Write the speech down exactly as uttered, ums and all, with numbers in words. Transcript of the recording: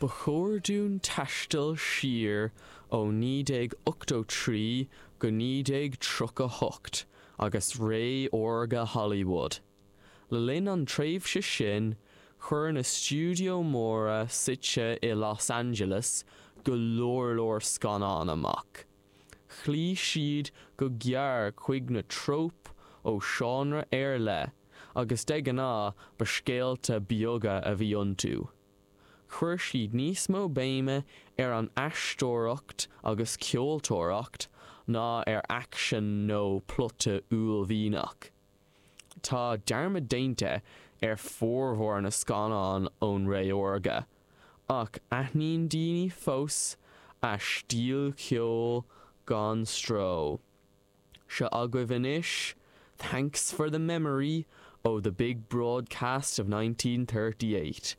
Ba chóir dúinn taisteal siar ó naoi déag ochtó trí go naoi déag tríocha hocht agus ré órga Hollywood. Le linn an tréimhse sin, chuir na stiúideo móra suite i Los Angeles go leor leor scannán amach. Chloígh siad go gear chuig na tróip ó seánra ar leith agus de ghnáth ba scéalta beaga a bhí iontu. Chuir siad níos mó béime ar an aisteoireacht agus ceoltóireacht ná ar aicsean nó plota uaillmhianach. Tá dearmad déanta ar formhór na scannán ón ré órga, ach aithníonn daoine fós a stíl cheoil gan stró. Seo agaibh anois, Thanks for the Memory ó the big broadcast of nineteen thirty eight.